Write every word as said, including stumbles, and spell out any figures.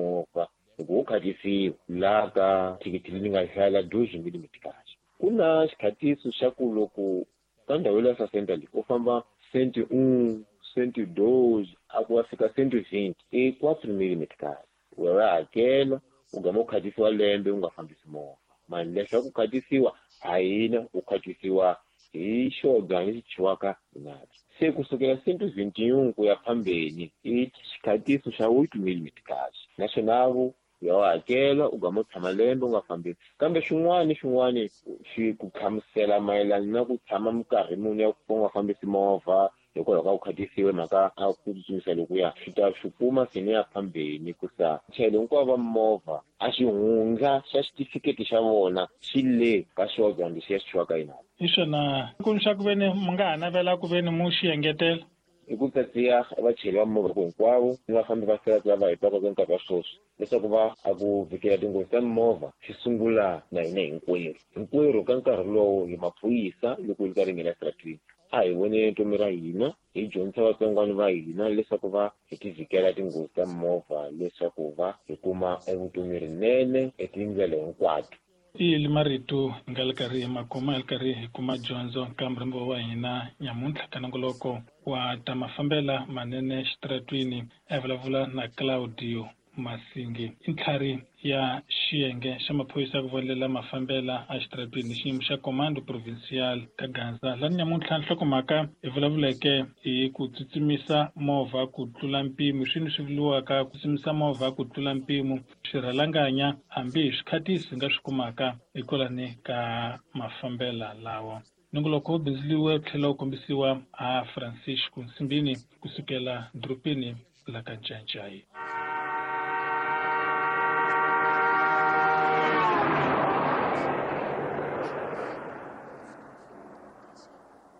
movha loko wo khatisiwa laha ka thikithi leyi nga hlayela doze millimeters. Ku na xikhatiso xa ku loko ka ndhawu ya sasenta leyi u famba cent un cent doze a ku wa fika cent vingt i quatro millimeters, wa va hakela u gama u khatisiwa lembe u nga fambisi movha. Mali leswaku ku khatisiwa a hina u khatisiwa hi xo lexi chiwaka nati. Se kusukela cent vingt-et-un ku ya phambeni i xikhatiso xa oito millimeters, naswona vo ya wa hakela u gama u tshama lembe u nga fambisi. Kambe xin'wana ni xin'wana xi ku hlamusela mayelana na ku tshama minkarhi muni ya ku u nga fambisi movha hikwalaho ka ku khatisiwe mhaka a ku tsutsumisa lokuya, swi ta swi kuma seni ya phambeni ku sa chayelo hinkwavo va movha a xihundla xa xitifiketi xa vona xi le ka xodwa lexiya xi chiwaka yina. Hi swona ku xa ku veni mi nga ha navela ku veni mu xi engetela i ku tsatsiya vachayeri va movha hinkwavo ni vafambi va sirati lava hi twaka nkarhi wa sweswi leswaku va a ku vhikela tinghozi ta mimovha xi sungula na hina hinkwerhu. Hinkwerhu ka nkarhi lowu hi maphorisa loko hi karhi hi nghena eswiratwini a hi voneni vutomi ra hina, hi dyondzisa vatsongwana va hina leswaku va hi ti vhikela tinghozi ta mimovha leswaku va hi kuma evutomi rinene etindlela hinkwato. I marito hi nga le karhi hi ma kuma hi le karhi hi kuma dyondzo ka murhambiwa wa hina nyamuntlha ka nongoloko wa ta mafambela manene xitaratwini. A vulavula na Claudio Masingi, i ntlhari ya xiyenge xa maphorisa ya ku vonelela mafambela a xitaratwini xiyimo xa Comando Provincial ka Gaza. Lani nyamuntlha nhlokomhaka hi vulavuleke hi ku tsutsumisa movha ku tlula mpimo, swini swi vuriwaka ku tsutsumisa movha ku tlula mpimo, swirhalanganya hambi hi swikhatisi hi nga swi kumaka hikwalani ka mafambela lawa. Nongoloko wu bindzuriwe wu tlhela wu kombisiwa a Francisco Nsimbini kusukela dorobeni la ka Ncancai.